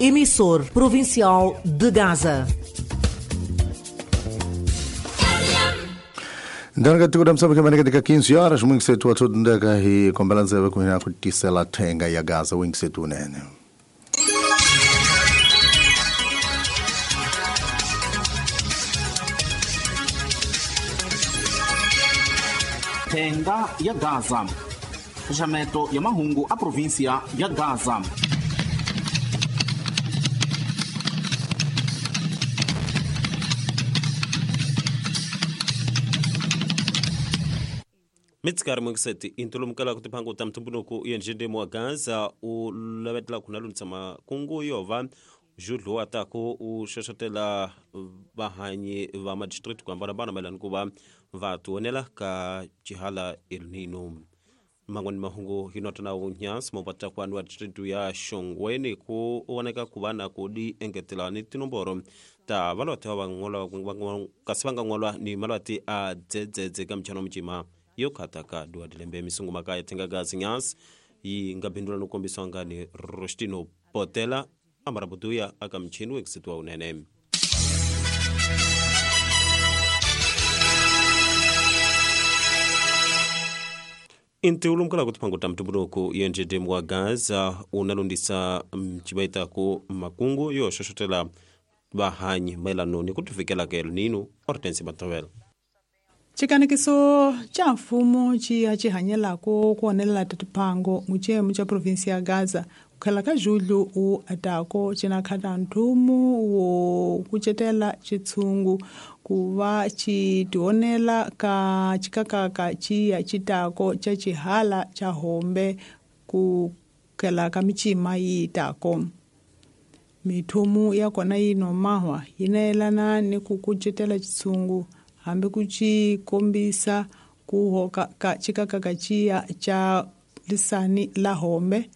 emissor provincial de Gaza. Ndanga tikuda msabaka manika tika 15 horas mwingisetu watoto ndaka hi kombelanza kuhina kutisela thenga ya Gaza wingisetu nene. Thenga ya Gaza. Xaxameto ya mahungu a província ya Gaza. Mitsikari mwingiseti intulumukela kutiphangu ta mtumbuluku yenjendemo wa Gaza u lavetela khuna makungu yova judlu wa taku u xoxotela vahanyi va madistrict ku hambanahambana mayelana ku va va tionela ka chihala El Nino. Mangwani mahungu hinota na unyansi mopata kwanu wa district ya Shongweni ku oneka ku va na ku di engetela ni tinomboro ta valwati va ngolwa kasi va nga ngolwa ni malwati a dzedzedze ka mchano mchima yo khataka dua dilembe misungu makaya thenga gazi nyansi yi nga bindula no kombiswa ngani Rostino Potela amarabuduya aka mchini wekisitwa unene. Intiulumkala kutiphanguta mtumbuluku yenjedemu wa Gaza unalundisa mchibaita ku makungu yo xoxotela vahanyi mayelano ni kutifikela ka El Nino. Hortense Matowela. Chikanekiso cha mfumo chiya chihanyelako kuonelela tatiphango muchemu cha província ya Gaza kukhela ka julho u atako cinakhata nthumu wo kucetela chitshungu ku va chitionela ka chikakaka chiya chitako cha chihala cha hombe ku khela ka michima yi tako. Mithumu ya kona yi nomahwa yi nayelana ni ku kucetela chitshungu hambi ku ci kombisa ku hoka ka chikakaka chiya cha lisani la hombe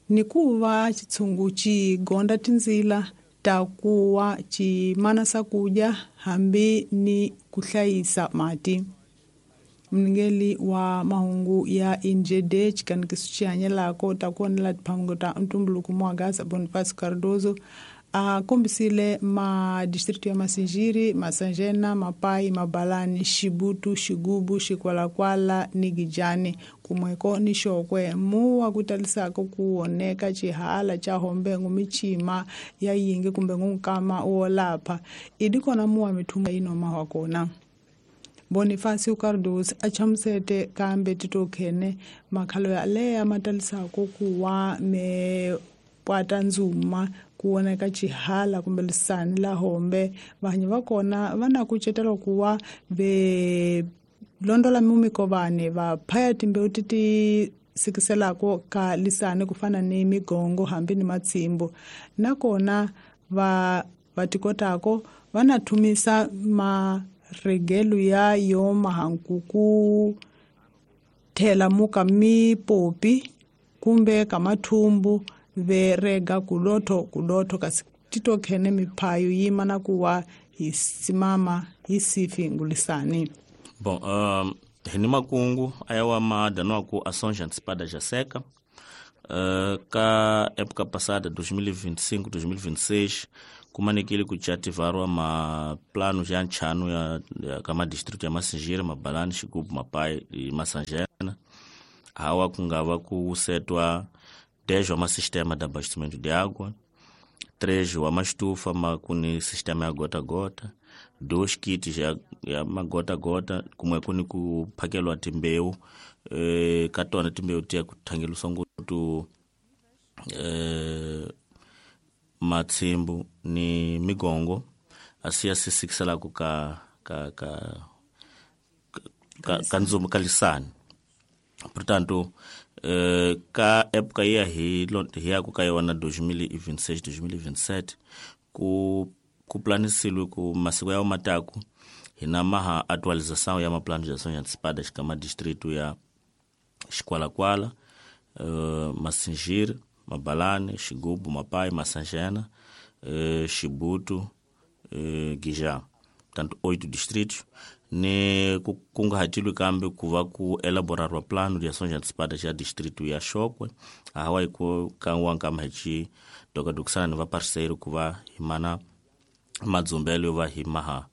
ni ku va chitshungu ci gonda tindzila ta kuwa ci mana kudya hambi ni ku hlayisa mati. Mningeli wa mahungu ya INGD chikanikiso chihanyelako ta kuonela tiphango ta ntumbuluko mwa Gaza Bonifacio Cardoso a kombisile ma distrito ya Masinjiri, Masanjena, Mapai, Mabalani, Xibutu, Xigubu, Xikwalakwala ni Gijani kumweko ni Xokwe muwa kutalisako kuoneka chihala cha hombe michima ya yingi kumbe ngunkama wo lapha idi kona muwa mithunga inoma wa kona. Bonifacio Cardoso a chamusete kambe titokhene makhalo ya leya matalisako kuwa me pwata ndzuma kuoneka chihala kumbe lisani la hombe vanhu va kona va na kucetela kuwa ve londola mumikovane va phaya timbewu ti ti sikiselako ka lisani ku fana ni migongo hambi ni matsimbu nakona va va tikotako va na thumisa maregelo ya yo mahankuku thela muka mipopi kumbe ka mathumbu ve rega kulotho kulotho kasi titokhene miphayo yima na kuwa hi simama hi sifi ngulisani. Bom, hini makungu ayawa maadano ku ações antecipadas já seca. Ka época passada 2025 2026 kumanekile kuchativarwa ma plano ya nchano ya kama distrito ya Masinjira, Mabalani, Xigubu, Mapai e Masanjena. Hawa kungava kusetwa 10 wa sistema de abastecimento de água, 3 wa estufa kuni sistema ya gota-gota, 2 kits ya magota-gota kumwe kuni kuphakelwa timbewu katona timbewu tiya kuthangeliswa ngutu matsimbu ni migongo asiya sisikiselako ka ka ka ka, ka ndzumbu ka lisani. Portanto, ka época ia hi ku ka yona 2026 2027 ku planisilwe ku masiku ya mataku hina maha atualização ya maplano de ações antecipadas kama distrito ya Xikwalakwala, Masinjiri, Mabalane, Xigubu, Mapai, Masanjena, Xibutu, Guijá. Portanto, 8 distritos. Ni ku kunguhatilwe kambe ku va ku elaborarwa plano de ações antecipadas ya distrito ya Chokwe hawa hi ku ka nkama hi ci dokadokisana ni va parceiro ku va hi mana madzumbelo yo va hi maha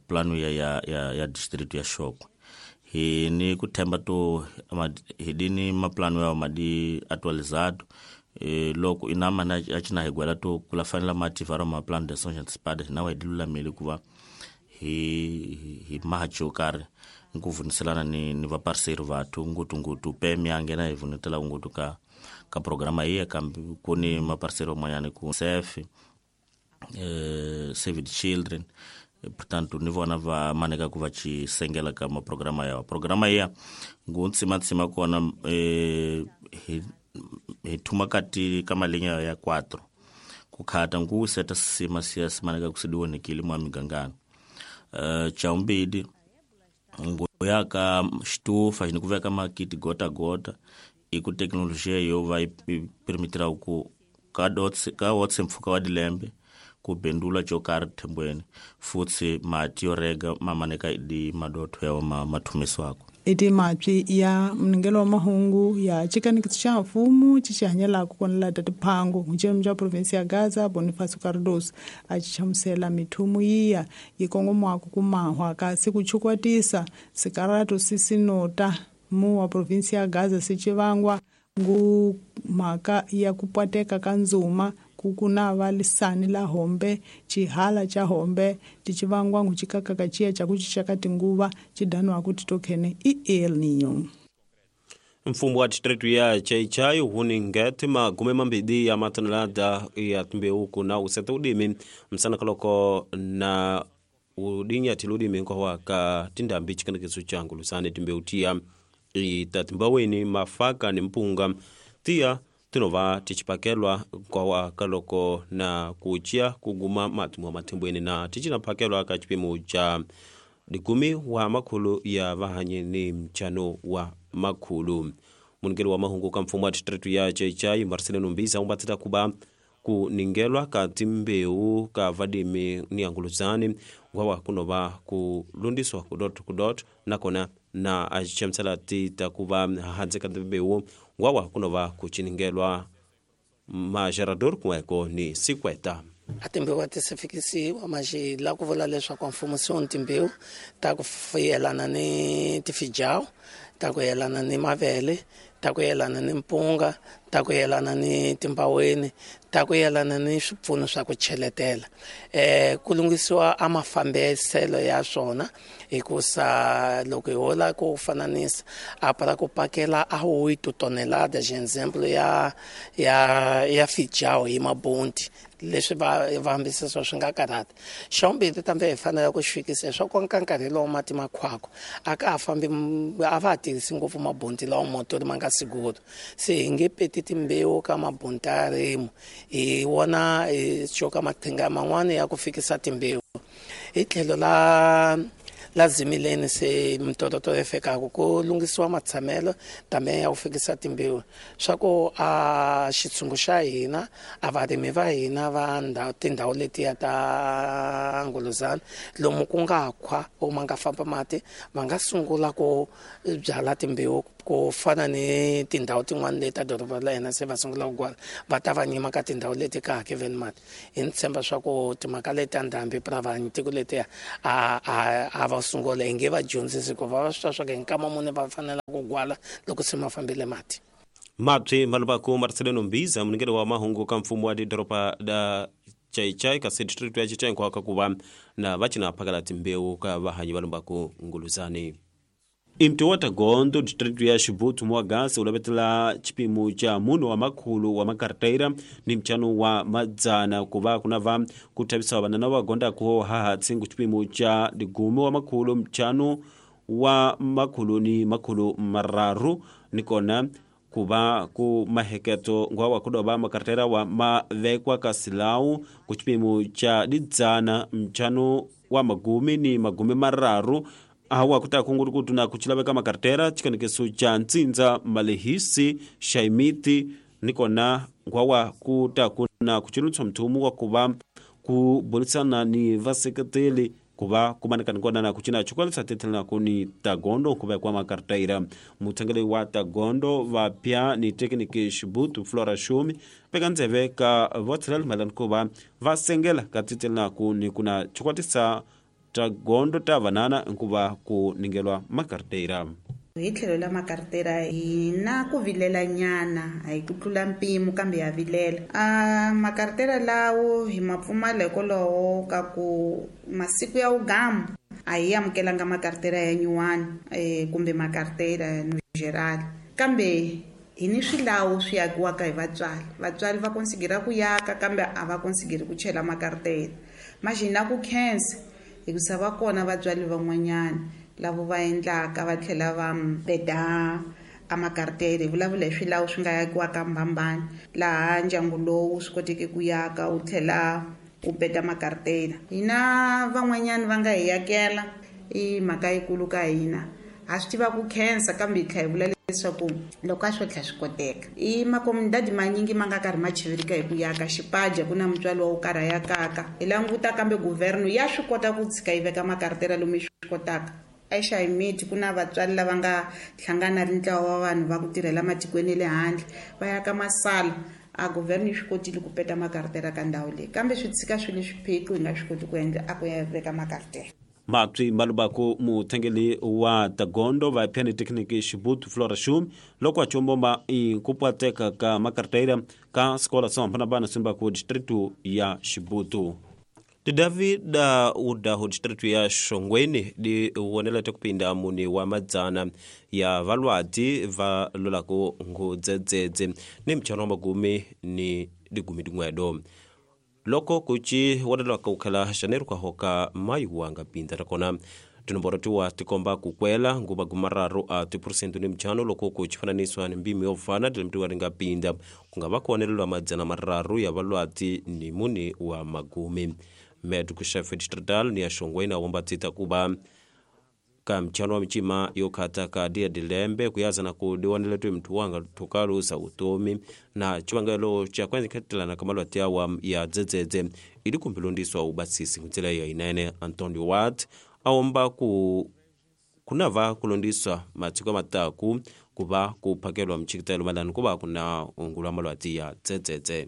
plano ya distrito ya Chokwe. Hi ni ku themba to hi dini maplano ya madi atualizado loko inama na acina hi gwela to kula fanela mativaro ma plano de ações antecipadas na wa hi lulamile ku va hi maha xo karhi ku vuniselana ni va parceiro vathu ngutunguthu PM ya nghena hi vunetela nguthu ka programa iya kambe ku ni maparceiro man'wanyana ku SEF Save the Children, portanto ni vona va maneka ku va ci sengela ka maprograma yawa. Programa iya ngu ntsima kona hi thuma kati ka malinha ya 4 ku khata ngu seta sima siya simaneka ku sidiwonekile mwa migangano. Chaumbidi ngoya ka xitufa ni ku veka makiti gota gota i ku teknolojia yo va yi permitira ku ka dots ka wotse mpfhuka wa dilembe ku bendula xo karhi thembweni futhi mati yo rega ma maneka di madotho ya ma mathumiswako. Iti mapyi ya mningelo wa mahungu ya chikanikitso xa mfumo xi xi hanyelaka ku lata tiphango mucemu xa provinsi ya Gaza Bonifacio Cardoso a xi hlamusela mithumu yiya yi kongomaka ku mahwa kasi ku chukwatisa sikaratu sisinota mu wa provinsi ya Gaza si civangwa ngu mhaka ya ku pwateka ka ndzuma ku kuna va lisani la hombe chihala cha hombe ticivangwa ngu chikakaka chiya cha kuchicha ka tinguva chidanwa kuti tokhene i El Niño. Mfumo wa distrito ya Chaichai huningeti magume mambidi ya matonelada ya timbewu kuna useta udimi msanakaloko na udinyati ludimi nkowa ka tindambi chikanikiso cha ngulusane timbewu tiya itatimbaweni mafaka ni mpunga tiya tinova tichipakelwa kwa kaloko na kuchia kuguma matumu matembweni na tichinapakelwa ka chipimo cha dikumi wa makhulu ya vahanyi ni mchano wa makhulu. Muningeli wa mahungu ka mfumo wa distrito ya Chaichai Marcelino Mbiza umbatita kuba kuningelwa ka timbeu ka vadimi ni anguluzani ngwawa kunova kulundiswa kudot kudot nakona na achemsela tita kuba hanze ka timbeu ngwawa kunova kuchiningelwa magerador kuweko ni sikweta. A timbewu a ti se fikisiwa maxi la ku vula leswaku mfumo se wu timbewu ta ku yelana ni tifijawu, ta ku yelana ni mavele, ta ku yelana ni mpunga, ta ku yelana ni timbaweni, ta ku yelana ni swipfuno swa ku cheletela. Ku lunghisiwa a mafambiselo ya swona hikusa loko hi hola ku fananisa a para ku pakela a 8 toneladas example ya fijawu hi mabunti leswi va hambisisa swi nga karhata. Xa vumbirhi tambe hi fanele ku xi fikisa leswaku ka nkarhi lowu mati makhwako a ka ha fambi a va ha tirhisi ngopfu mabunti lawa motori ma nga siguro se hi nge peti timbewu ka mabunti ya rimu hi wona hi coka mathinga man'wani ya ku fikisa timbewu hi tlhelo la zimileni se mitototo yi fikaka ku lunghisiwa matshamelo tambe ya ku fikisa timbewu swa ku a xitshungu xa hina a varimi va hina va tindhawu letiya ta Nguluzana lomu ku nga khwa o ma nga famba mati va nga sungula ku byala timbewu ku fana ni tindhawu tin'wana leti ta doroba la hina se va sungula ku gwala va ta va nyima ka tindhawu leti ka hakeveni mati. Hi ni tshemba swa ku timhaka leti ta ndhambi pra tiko letiya a va sungula hi nge va dyondzisi ku va swi twa swa ku hi nkama muni va fanela ku gwala loko se ma fambile mati. Mapyi malubaku Marcelino Mbiza muningeli wa mahungu ka mfumo wa doroba da Chaichai kasi district ya Chaichai nkwaka kuva na vachina phakala timbewu ka vahanyi va lumbaku Nguluzani. Imti wa Tagondo district ya Xibutu Mwagasi ulavetela chipimo cha munhu wa makhulu wa makarteira ni mchano wa madzana kuva kuna va kuthavisa vanana va gondako hahatsi ku chipimo cha digume wa makhulu mchano wa makhulu ni makhulu mararu nikona kuva ku maheketo ngwawa kudoba makartera wa mavekwa ka silawu ku chipimo cha didzana mchano wa magumi ni magumi mararu awa kutaka nguri kutuna kuchilaveka makartera chikanekeso cha ntsindza malehisi shaimiti nikona ngwawa kutakuna kuchilutswa mthumu wa kuva ku burisana ni vaseketeli Kuva kumanikana kona kuchina chikwalisa tetela kuni tagondo kuva kwa makartaira mutengele wa tagondo vapya ni tekniki Shibutu Flora Shumi pekanzeve ka votsela malan kuva vasengela ka tetela kuni kuna chikwatisa tagondo ta vanana nkuva ku ningelwa makartaira. Hi tlhelo la makartera hi na ku vilela nyana a hi ku tlula mpimo kambe ya vilela. Makartera lawo hi ma pfumala hikwalaho ka ku masiku ya ugamu a hi amukelanga makartera ya nyuwani kumbe makartera no geral, kambe hi ni swilawu swi yakiwaka hi vatswari. Vatswari va konsigera ku yaka kambe a va konsigeri ku chela makartera. Maxi na ku khensa hikusa va kona vatswari van'wanyana lavo va endlaka va tlhela va peda a makartere. Hi vulavula hi swilawu swi nga yakiwaka mbambani laha ndyangu lowu swi koteke ku yaka wu tlhela wu peda makartera. Hina van'wanyani va nga hi yakela i mhaka yikulu ka hina, ha swi tiva ku khensa kambe hi tlhela hi vula leswaku loko a swo tlhela swi koteka. I makomundadi manyingi ma nga karhi ma chivirika hi ku yaka xipaja ku na mutswari wa wo karhi a yakaka. Hi languta kambe guvherno ya swi kota ku tshika yi veka makartera lomu yi swi kotaka. Exayimiti ku na vatswari lava nga hlangana ri ntlawa wa vanhu va ku tirhela matikweni ya le handle va yaka masala a guvherno yi swi kotile ku peta makartera ka ndhawu leyi, kambe swi tshika swi le swiphiqo hi nga swi koti ku endla a ku ya veka makartera. Mapsi malubako mutengeli wa tagondo va piani tekniki Shibutu Flora Shumi loko achombomba inkupwateka ka makartera ka skola sa bana simba ku distritu ya Shibutu. David udaho distritu ya Shongweni di wonela tekupinda muni wa madzana ya valwati va lolako ngudzedzedze ni mchano magumi ni digumi dingwedo. Loko kuchi wonela kukhala janeiro kwa hoka mayu wanga pinda rakona tinomboro tiwa tikomba kukwela nguba gumararu a 2% ni mchano loko kuchifananiswa ni mbimi yofana dilemtiwa ringa pinda kungava kuonelelwa madzana mararu ya valwati ni muni wa magumi. Medu kushefe distrital ni ya Shongweni awomba tita kuba ka mchano wa michima yokata ka dia dilembe kuyaza na kudiwaneletwe mtu wanga tukalusa utomi na chivangelo cha kwanza ketelana kamalwati awa ya dzedzedze ili kumpilundiswa ubasisi nzila ya inene. Antonio Watt aomba kunava kulondiswa matsiko mataku kuva kuphakelwa mchikitelo malani kuva kuna ungulwa malwati ya dzedzedze.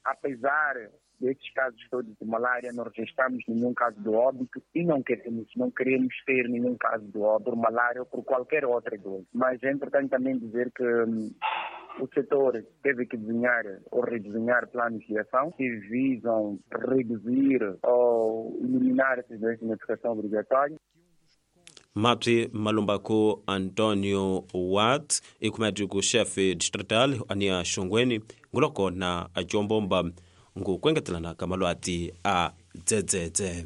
Apesar destes casos todos de malária, não registramos nenhum caso de óbito e não queremos ter nenhum caso de óbito por malária ou por qualquer outra doença. Mas é importante também dizer que o setor teve que desenhar ou redesenhar planos de ação que visam reduzir ou eliminar essas doenças de notificação obrigatória. Mapsi malumbako Antonio Watt ikumadiku chefe distrital ania Shongweni nguloko na ajombomba ngukwengetelana kamalwati a dzedzedze.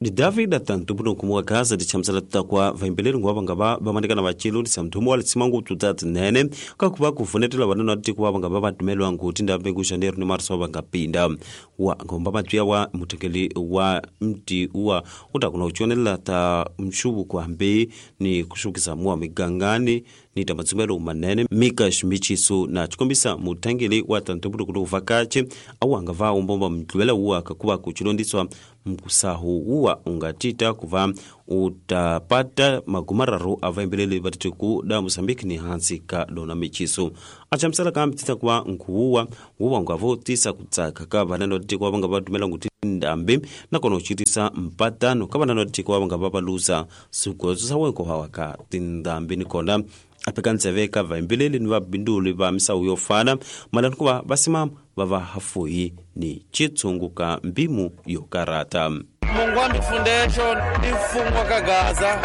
Di David atantu kumwa Gaza di chamsala takwa vaimbeleli ngwa bangaba bamanikana bachilo di samthumo wa litsimangu tutati nene kakuba kuvunetela vanana tikuwa bangaba batumelwa nguti ndambe ku janeiro ni marso bangapinda wa ngomba matwiya wa mutekeli wa mti wa utakuna uchonela ta mshubu kwa mbe ni kushukisa muwa migangani ni tamatsumelo manene mika shimichiso na chikombisa mutangeli wa tantubudu kuvakache awanga va umbomba mtluwela uwa kakuba kuchilondiswa mkusahu uwa ungatita kuva utapata magumararo avaimbelele vatete ku da Mozambique ni hansi ka dona michiso achamsala kambitita kuva nkuuwa uwa ungavotisa kutsaka ka vanano vatete kuva vanga vatumela nguti ndambe nakona uchitisa mpatano ka vanano vatete kuva vanga vavalusa swigodzo swa wenko hawa ka tindambi nikona apekantseve ka vaimbeleli ni vabinduli va misawu yo fana malani kuva vasimama vava hafuhi ni chitsungu ka mbimu yo karata. Mungwambi Foundation i mfumo wa ka Gaza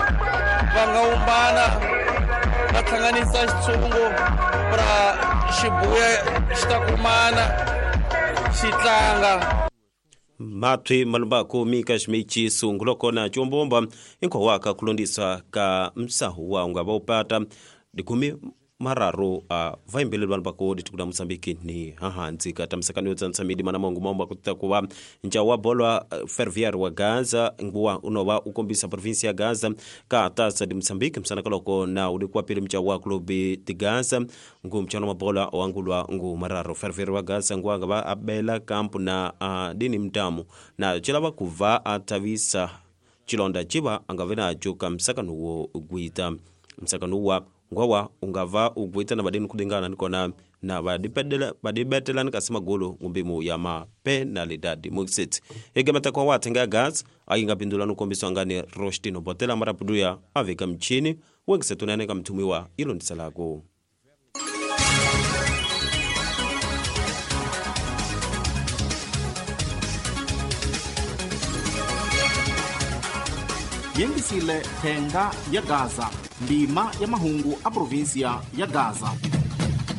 va nga umbana va hlanganisa xitshungu ra xibuya xi ta kumana xi tlanga. Matwi malumbako mika ximichiso ngulokona chombomba inkhowaka kulondiswa ka msahu wa ungava upata dikumi Mararu a vaimbeleli vanhu va ko ditiko la Mozambique ni hahansi ka tamisakano yo tsanisa midima na mahungu maomba ku ta ku va ncawu wa bolo Ferroviário wa Gaza nguwa unova u kombisa provinsi ya Gaza ka Taça de Moçambique msanaka loko na uli kwa pili mcawu wa Clube de Gaza ngu mchano wa bola wangulwa ngu Mararu Ferroviário wa Gaza nguwa nga va abela kampu na dini mtamu na chilava kuva atavisa chilonda chiva angave nacho ka msakano wo gwita msakano wa ngwawa ungava ugwita na badini kudingana nikona na vadibetelani kasi magulu ngumbimu ya mapenalidadi muxit igemeta kwa watenga gas ayinga pindula nukombiswa ngani Rostino Botela marapuduya aveka mchini wengisetunane kamthumiwa ilondisalako. Yengisile thenga ya Gaza, ndima ya mahungu a província ya Gaza.